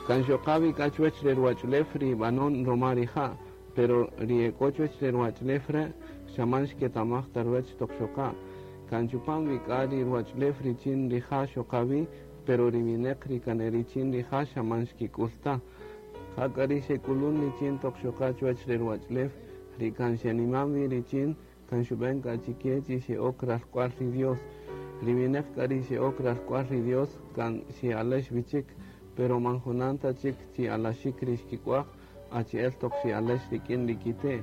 Kan xoqa wi k'a chuwech re ruwach'ulew ri b'anon roma rija', pero ri ek'o chuwech re ruwach'ulew re' xa man xketamaj ta ruwech toq xoqa. Kan chupam wi k'a ri ruwach'ulew richin rija' xoqa wi, pero ri wineq ri kan e richin rija' xa man xkik'ul ta. Jak'a ri xek'ulun richin toq xoqa chuwech re ruwach'ulew, ri kan xeniman wi richin, kan xub'en k'a chike chi xe'ok ralk'wal ri Dios. Ri wineq k'a ri xe'ok ralk'wal ri Dios kan xe'alex wi chik, pero man junan ta chik chi alaxik ri xkik'waj, achi'el toq xe'alex rik'in ri kite',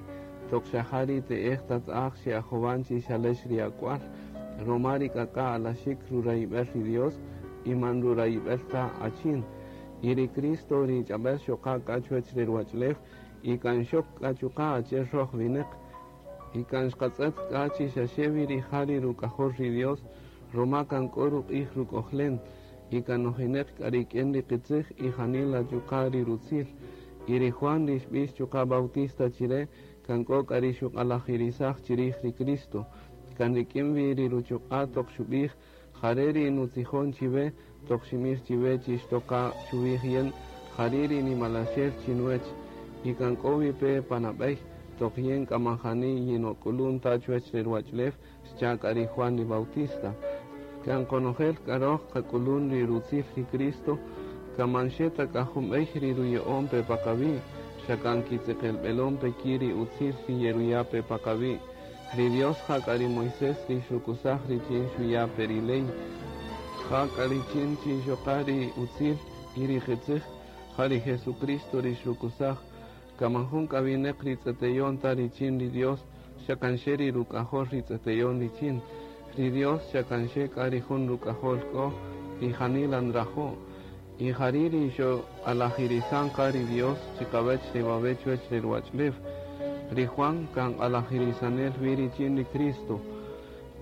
toq xa ja ri te'ej tata'aj xe'ajowan chi xalex ri ak'wal, roma ri k'ak'a' alaxik rurayib'el ri Dios y man rurayib'el ta achin. Y ri Cristo ri ch'ab'el xoqa k'a chuwech re ruwach'ulew y kan xok k'a chuqa' achi'el roj wineq. Y kan xqatz'et k'a chi xaxe wi rija' ri ruk'ajol ri Dios, roma kan k'o ruq'ij ruk'ojlen, y kan nojineq k'a rik'in ri qitzij y janila chuqa' ri rutzil. Y ri Juan ri xb'ix chuqa' Bautista chire, kan k'o k'a ri xuq'alajirisaj chirij ri Cristo. Kan rik'in wi ri ruchuq'a' toq xub'ij, Jare' ri nutzijon chiwe, toq xinb'ij chiwe chi xtoqa chuwij yin, jari' ri nimalaxel chinuwech. Y kan k'o wi pe pa nab'ey, toq yin k'a man jani yinok'ulun ta chuwech re ruwach'ulew, xcha' k'a ri Juan ri Bautista. Kan qonojel k'a roj qak'ulun ri rutzil ri Cristo, kan man xe ta k'a jun b'ey ri ruya'on pe pa qawi', xa kan kitzeqelb'elon pe ki' ri utzil ri yeruya' pe pa qawi'. Ri Dios ja k'a ri Moisés ri xukusaj richin xuya' pe ri ley. Ja k'a richin chi xoqa ri utzil y ri qitzij, ja ri Jesucristo ri xukusaj. Kan man jun k'a wineq ri tz'eteyon ta richin ri Dios, xa kan xe ri ruk'ajol ri tz'eteyon richin. Ri Dios xa kan xe k'a ri jun ruk'ajol k'o y janila nrajo'. Y jari' ri xoq'alajirisan qa ri Dios chiqawech re wawe' chuwech re ruwach'ulew. Ri Juan kan q'alajirisanel wi richin ri Cristo.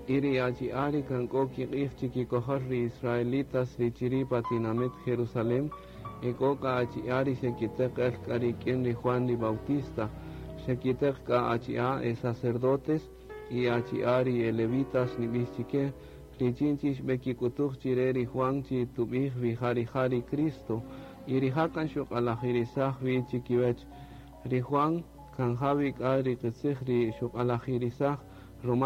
Y ri achi'a' ri kan k'o kiq'ij chikikojol ri israelitas ri chiri' pa tinamit Jerusalem, ek'o k'a achi'a' ri xekiteq el k'a rik'in ri Juan ri Bautista. Xekiteq k'a achi'a' e sacerdotes y achi'a' ri e levitas nib'ix chike, richin chi xb'ekik'utuj chire ri Juan chi tub'ij wi ja rija' ri Cristo. Y rija' kan xuq'alajirisaj wi chikiwech. Ri Juan kan ja wi k'a ri qitzij ri xuq'alajirisaj, roma.